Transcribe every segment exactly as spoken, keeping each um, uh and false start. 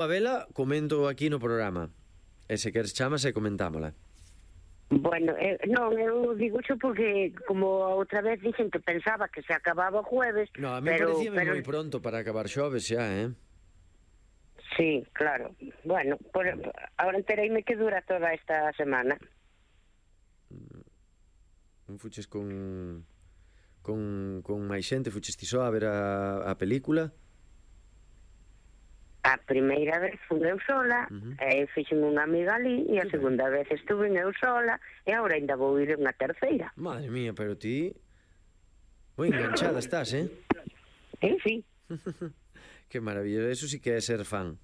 A vela, comento aquí no programa. E se queres chamas e comentámola. Bueno, eh, non, eu digo xo porque como outra vez dixen que pensaba que se acababa o jueves. No, a mí pero, parecíame pero... moi pronto para acabar xoves xa, eh? Sí, claro. Bueno, por, ahora entereime que dura toda esta semana. Non fuches con con, con máis xente, fuches ti só a ver a, a película? A primeira vez fui eu sola, uh-huh. e fixen unha amiga ali, e a que segunda ben? vez estuve eu sola, e agora ainda vou ir unha terceira. Madre mía, pero ti moi enganchada estás, eh? Eh, sí. Que maravilla, eso sí que é ser fan.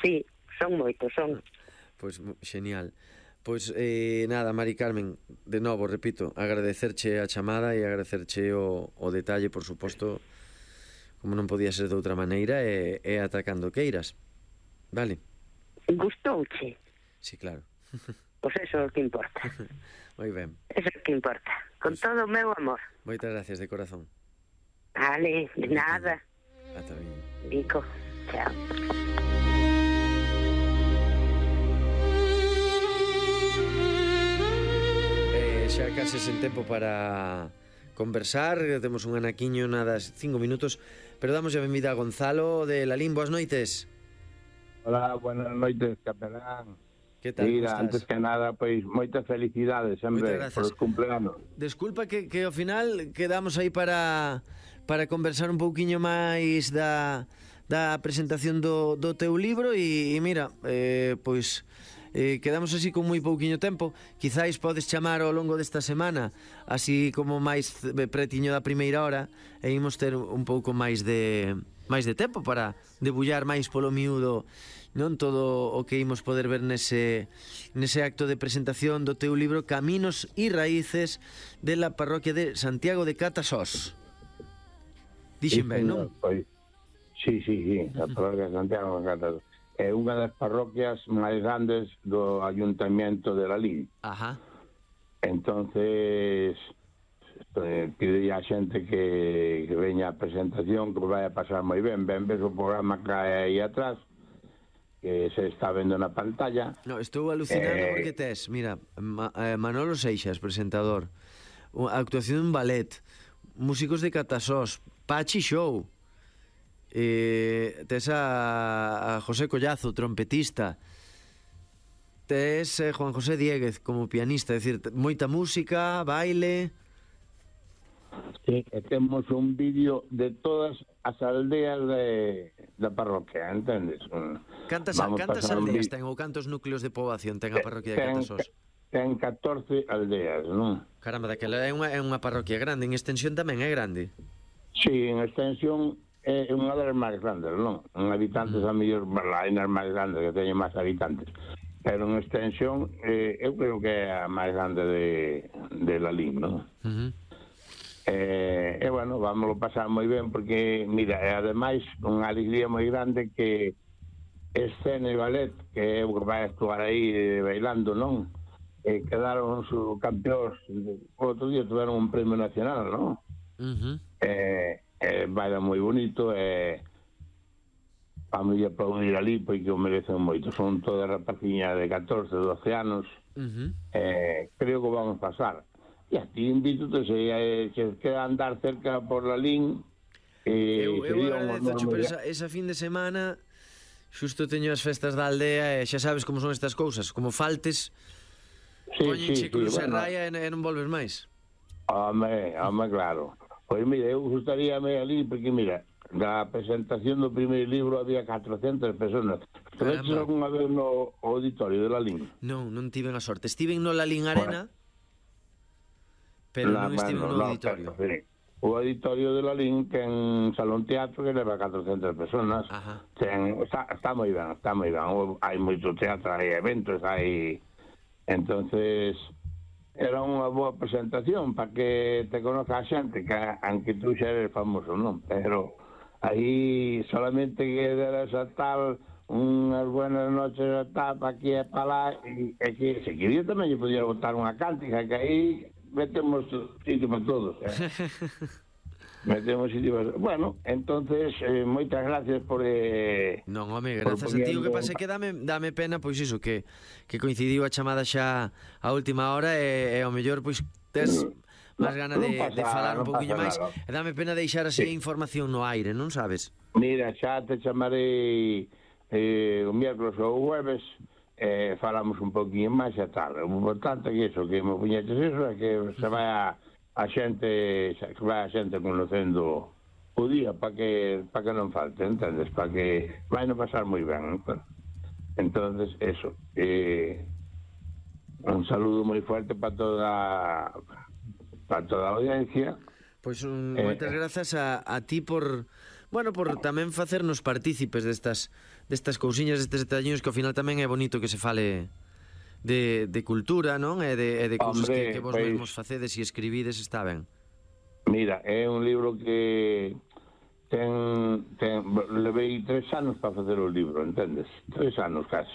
Sí, son moitos, son. Pois pues, genial. Pois, pues, eh, nada, Mari Carmen, de novo, repito, agradecerche a chamada e agradecerche o, o detalle, por suposto, como non podía ser de outra maneira, e, e atacando queiras. Vale? Gustouche? Sí, claro. Pois eso é o que importa. Moi ben. Eso é o que importa. Con pues, todo o meu amor. Moitas gracias de corazón. Vale, de nada. Ata viño. Vico, chao. Eh, xa case sen tempo para conversar, temos un anaquiño nada cinco minutos, pero damos a benvida a Gonzalo de Lalín. Boas noites. Hola, buenas noites, capelán. Que tal, Mira, antes que nada, pois, moitas felicidades sempre por os cumpleanos. Desculpa que, que ao final quedamos aí para para conversar un pouquiño máis da, da presentación do, do teu libro e, e mira, eh, pois eh, quedamos así con moi pouquiño tempo. Quizáis podes chamar ao longo desta semana, así como máis pretiño da primeira hora, e imos ter un pouco máis de máis de tempo para debullar máis polo miúdo, non, todo o que imos poder ver nese nese acto de presentación do teu libro Caminos e Raíces de la parroquia de Santiago de Catasós. Dixen ben, non? Pois, sí, sí, sí, a parroquia de Santiago de Catasós é unha das parroquias máis grandes do Ayuntamiento de Lalín. Ajá. Entonces pide a xente que, que veña a presentación, que vai a pasar moi ben. Ben ves o programa que hai aí atrás, que se está vendo na pantalla. No, estou alucinando eh... porque tes, mira, Ma, eh, Manolo Seixas, presentador, a actuación dun ballet, músicos de Catasós, Pachi Show, eh, tes a, a José Collazo, trompetista, tes eh, Juan José Dieguez como pianista, é dicir, moita música, baile. Sí, e temos un vídeo de todas as aldeas de, da parroquia, entendes? Cantas, cantas aldeas ten ou cantos núcleos de poboación ten a parroquia de Catasós? Ten catorce aldeas, non? Caramba, daquela é unha, é unha parroquia grande, en extensión tamén é grande. Sí, en extensión é unha das máis grandes, non? En habitantes mm. a mellor, hai nas máis grandes que teñen máis habitantes, pero en extensión eh, eu creo que é a máis grande de, de Lalín, non? Uh-huh. Eh, e, bueno, vámoslo pasar moi ben porque, mira, é ademais unha alegría moi grande que Escena e Ballet, que é o que vai actuar aí bailando, non? Eh, quedaron os campeóns, o outro día tuveron un premio nacional, non? Uh-huh. Eh, eh, baila moi bonito, e eh, vamos a aplaudir ali porque o merecen moito. Son todas rapaciñas de catorce, doce anos. Uh-huh. eh, creo que vamos pasar. E a ti invito se eh, que queda andar cerca por Lalín. Eh, eu eu agradezo por esa, esa fin de semana. Xusto teño as festas da aldea e xa sabes como son estas cousas. Como faltes, sí, poñenche sí, cruz sí, e bueno. Raya e, e non volves máis. Home, home, claro. Pois mira, eu gustaríame ali, porque mira, da presentación do primeiro libro había catrocentas personas. Estuveches algunha vez no auditorio de Lalín? Non, non tiven a sorte. Estiven no Lalín Arena, bueno. Pero no, non estiven no, no auditorio. No, pero, sí. O auditorio de Lalín ten salón teatro que leva catrocentas personas. Ten, está, está moi ben, está moi ben. Hai moito teatro, hai eventos, hai... Entonces, era unha boa presentación para que te conozca a xente, que aunque tú xa eres famoso, non? Pero aí solamente que deras a tal unhas buenas noches a tal, pa aquí e pa lá, e, e que se quería tamén lle podía botar unha cántica, que aí metemos sitio para todos, eh? Metemos sitio... Bueno, entonces, eh, moitas gracias por... Eh, non, home, grazas a ti. O que pasa é que dame, dame pena, pois iso, que, que coincidiu a chamada xa a última hora e, e ao mellor, pois, tes máis gana de, pasa, de falar un pouquinho máis. E dame pena deixar así sí. a información no aire, non sabes? Mira, xa te chamarei eh, o miércoles ou o jueves, eh, falamos un pouquinho máis e tal. O importante é que iso, que me puñetes iso, é que se vai a... a xente, que vai a xente conocendo o día para que para que non falte, entendes? Para que vai non pasar moi ben. Entonces, eso. Eh, un saludo moi fuerte para toda para toda a audiencia. Pois un, eh, moitas grazas a, a ti por, bueno, por tamén facernos partícipes destas destas cousiñas, destes detalliños que ao final tamén é bonito que se fale De, de cultura, non? E de, e de cousas que, que vos pues, mesmos facedes e escribides, está ben. Mira, é un libro que ten, ten levei tres anos para facer o libro, entendes? Tres anos casi.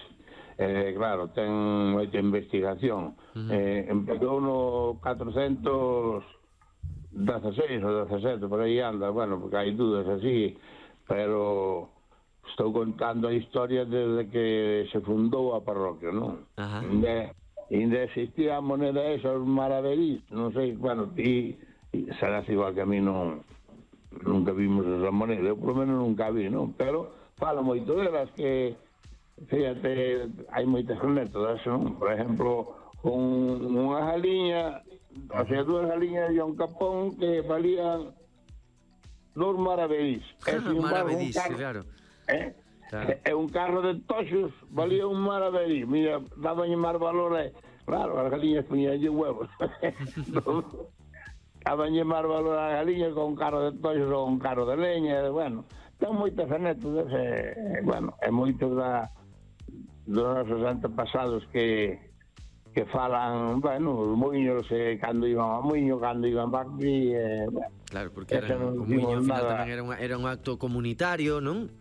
Eh, claro, ten moita investigación. Uh-huh. Eh, empezou no catrocentos dezasseis ou dezasete, por aí anda, bueno, porque hai dudas así, pero... Estou contando a historia desde que se fundou a parroquia, non? Ajá. Inde, inde existía a moneda esa, os maravedís, non sei, bueno, ti serás igual que a mí, non, nunca vimos esa moneda, eu por lo menos nunca vi, non? Pero falo moito delas que, fíjate, hai moitas anécdotas, non? Por exemplo, un, unha jaliña, o sea, dúas jaliñas e un capón que valían dos maravedís. Maravedís, claro. Eh? Claro. É un carro de toxos, valía un maravedí. Mira, daban máis valor e, claro, as galiñas poñían huevos. Daban máis valor as galiñas con un carro de toxos ou un carro de leña, bueno, ten moitas anécdotas, e, bueno, é moito da dos nosos antepasados que que falan, bueno, os muiños, eh, cando iban a muiño, cando iban para aquí, eh, bueno, claro, porque era, o muiño ao final tamén era, unha, era un acto comunitario, non?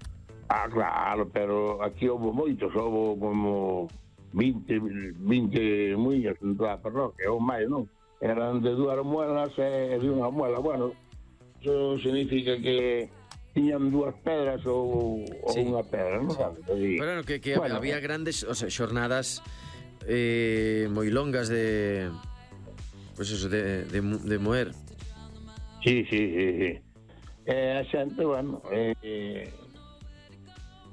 Ah, claro, pero aquí houve moitos, houve como vinte, vinte muiños en toda a parroquia, ou máis, non? Eran de dúas muelas e de unha muela, bueno, eso significa que tiñan dúas pedras ou, sí. ou unha pedra, non? Sí. Pero bueno, que, que bueno, había grandes, o sea, xornadas eh, moi longas de, pues eso, de, de, de moer. Sí, sí, sí, sí. Eh, a xente, bueno, eh,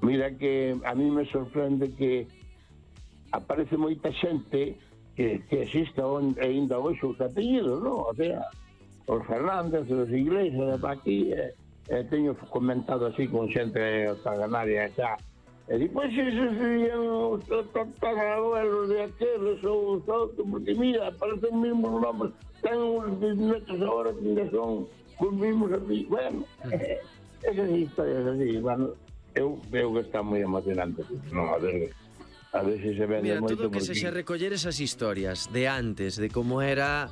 mira que a mí me sorprende que aparece moita xente que, que existe ainda hoxe os apellidos, non? O sea, os Fernández, os Iglesias, de aquí, eh, eh, teño comentado así con xente taganaria xa, e di, pois esos serían os tatarabuelos de aqueles ou os outros, porque mira, aparecen mismos nombres, ten uns bisnetos agora que ainda son os mismos apellidos, bueno, eh, esas historias así, bueno, Eu veo que está moi emocionante, non, a ver, a ver se se vende moito. Mira, todo que se xa recoller esas historias de antes, de como era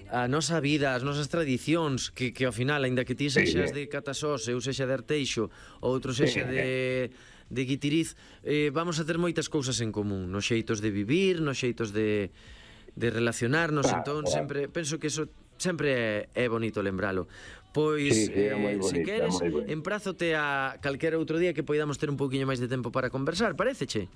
a nosa vida, as nosas tradicións, que, que ao final, aínda que ti sexas sí, de Catasós, eu sexa de Arteixo, outro sexa sí, de, de Guitiriz, eh, vamos a ter moitas cousas en común, nos xeitos de vivir, nos xeitos de, de relacionarnos, claro, entón claro. sempre, penso que eso sempre é, é bonito lembralo. Pois, sí, sí, eh, se queres, emprazote a calquera outro día que poidamos ter un pouquiño máis de tempo para conversar, paréceche?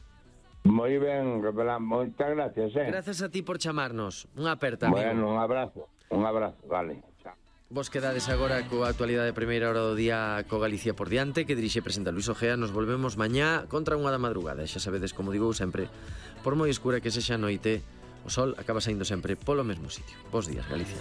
Moi ben, Repelán, moitas gracias, eh? Grazas a ti por chamarnos. Unha aperta, amigo. Bueno, un abrazo, un abrazo, vale. Chao. Vos quedades agora coa actualidade de primeira hora do día co Galicia por diante, que dirixe e presenta Luis Ojea. Nos volvemos mañá contra unha da madrugada. Xa sabedes, como digo sempre, por moi escura que sexa noite, o sol acaba saindo sempre polo mesmo sitio. Bos días, Galicia.